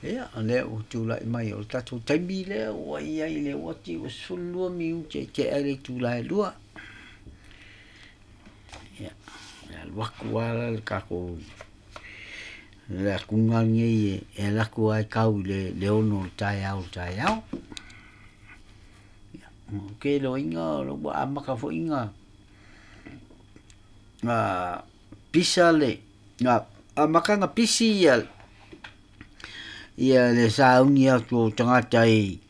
Ia, o lea ua tulai mai o le tatou taimi lea ua i ai le uati ua 12 minute e tea ai le itula e 2. Ia, e alu atu lava la le tatou le atuga lenei e alu atu lava e tau i le 6 o le taeao o le taeao. Ia, ou te iloaina ua amata foi ona pisa le na amata ona pisi ia le sauni atu o tagata i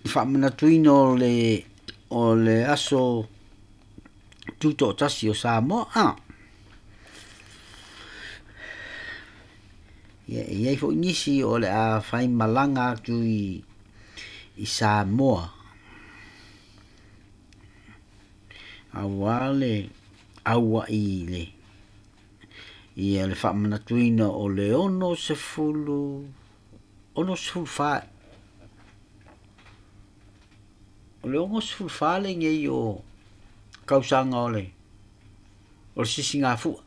faamanatuina o le aso tutoatasi o Samoa. Ia, e i ai foi nisi o le a faimalaga atu i Samoa auā le auai le ia le faamanatuina o le 64 o le 64 lenei o tausaga o le sisigafua.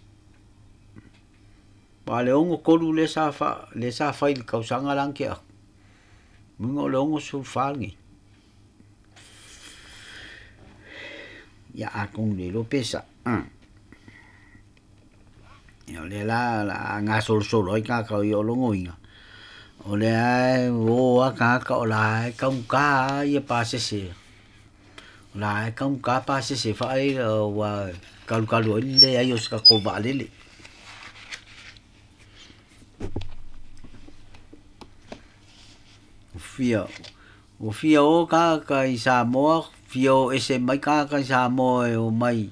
Ma le 63 le sa fai i le tausaga la na tea atu. Muiga o le 64 lenei. Ia atonu le iloa pe sao. Ia o lea la o le a gasolosolo ai tagata o ia o logoina, o lea e o lava tagata o la e taugata lava ia pasese. O la e taugata pasese faaia ua talutalu ai le leai o se tatou vaalele. Ua fia o tagata i Samoa, fia o ese mai tagata i Samoa e omai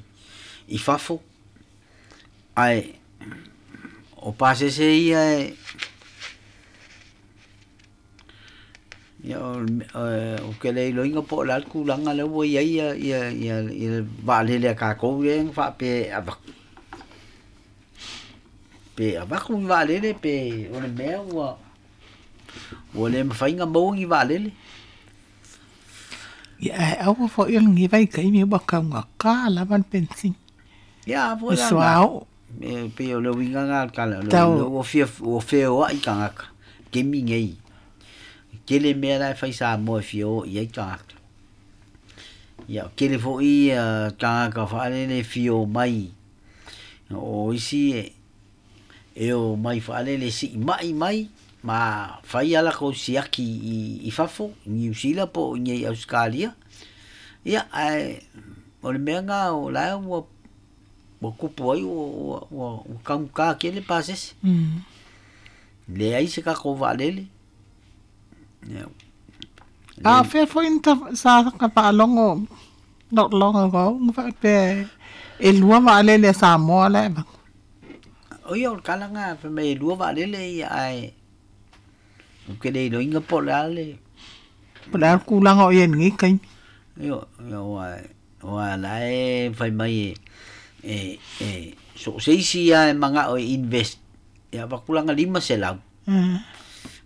i fafo, ae o pasese ia e ia o ke le iloina po o le a le tulaga lea ua i ai ia le vaalele a tatou lea na faapea e avatu. Pe avatu ni vaalele pe o le mea ua le mafai ona maua ni vaalele. Ia ae aua foi o lenei vaitaimi ua taugata lava le penisini. Ia a foi Le la suauu. E pei o le uiga lena o le tala, Tau ua feoai tagata taimi nei. Tele mea la e fai Samoa e fia o i ai tagata. Ia tele foi tagata faalele e fia omai. O isi e omai faalele e siimai mai ma fai a latou siaki i fafo, i Niu Sila po o i inei i Ausetalia. Ia ae o le mea lena o la e ua tupu ai ua taugata tele pasese. Leai se tatou vaalele. Ia. A o fea foi na sa ta faalogo not long ago na faapea e 2 vaalele a Samoa la e avatu. O ia o le tala lena fai mai e 2 vaalele ia ae ou te le iloaina po o le a le Po o le a le tulaga o i ai i lenei taimi. Io aua la e fai mai e so o se isi lava e manao e invest e avatu lana 500.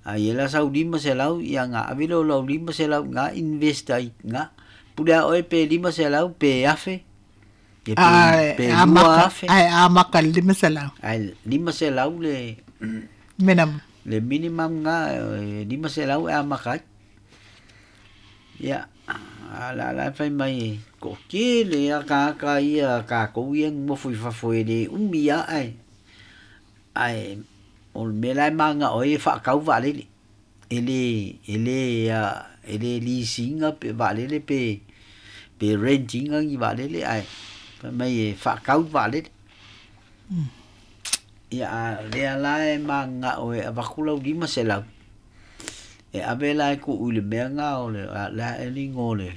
A ia la sau 500 ia na ave lea o lau 500 na invest ai na pule a oe pe 500 pe 1,000 ia pe Ae amata 2,000. Ae amata i le 500. Ae 500 le Minimum. Le minimum na 500 e amata ai. Ia a la la fai mai ko tele a tagata ia tatou ia nonofo i fafo e le umi lava ae ae o le mea la e mananao ai e faatau vaalele. E le lisi ina pe vaalele pe rent ina ni vaalele ae fai mai e faatau vaalele. Ia a o lea la e mananao e avatu lau 500 e ave la e tuu i le mea lena o le a le igoa o le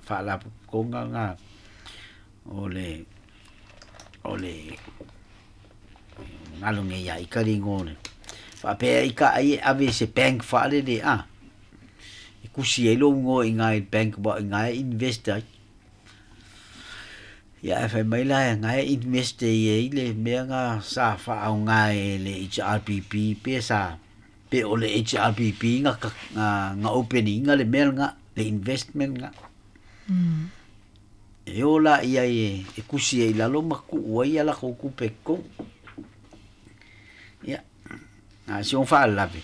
faalapotopotoga lena o le galo nei ia ita le igoa o le faapea ita ai e ave i se bank faalele a e tusi ai lou igoa i ina i le bank aua o i ina e invest ai. Ia ae fai mai la na e invest ai i le mea lena sa faaaoga e le HRPP pe sa pe o le HRPP na open ina le mea lena le investment lena. E o la ia e tusi ai i lalo ma tuu ai a latou tupe i totonu. Ia, a o si ona faalavelave.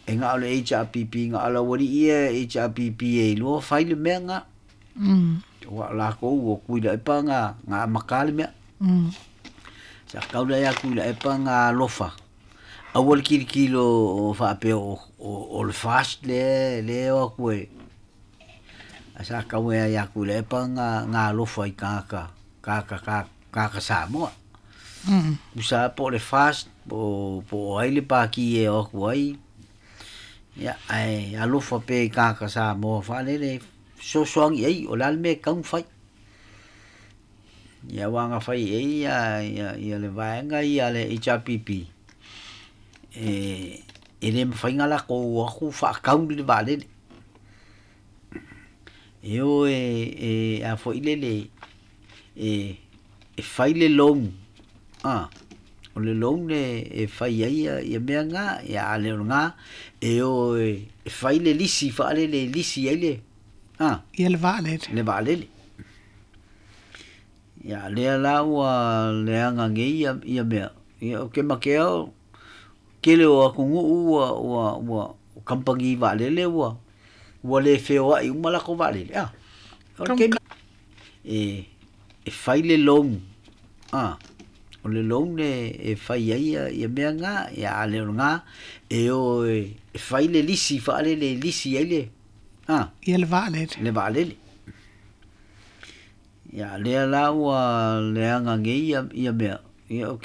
E na o le HRPP na ala wali ia HRPP e iloa fai le mea nga. Ua lakou ua kui la epa nga nga maka le mea. Sa kau la ia kui la epa nga alofa. Aua le kilikilo o faapea o le fast le le o aku e. A sa kau e ia kui la epa nga nga alofa i kaka kaka kaka kaka Samoa. Usa po le fast po po ai le paki e o aku ai. Ia ai alofa pe i kaka Samoa whaalele sosoangi ai o le ale mea e kau fai. Ia wanga fai e ia ia ia le vaega ia le HRPP. E e le mawhainga la ko aku whaakau le vaalele. E o e e a fo ile le e e fai le loan. Ah, o le loan e e fai ai ia ia mea ngā, ia ale o ngā, e o e e fai le lisi whaalele lisi ai le. Ah, Ia le vaalele. Le vaalele. Ia lea la ua leaga nei ia ia mea. Ia o ke makea o kele o atunuu ua ua ua kampani vaalele ua ua le feoai uma lakou vaalele. Ah. O le taimi e e fai le loan. Ah. O le loan e e fai ai ia ia mea ngā, ia ale o ngā, e o e e fai le lisi whaalele lisi ai le. Ah. Ia le vaalele. Le vaalele. Ia lea la ua leaga nei ia ia mea. Ia o ke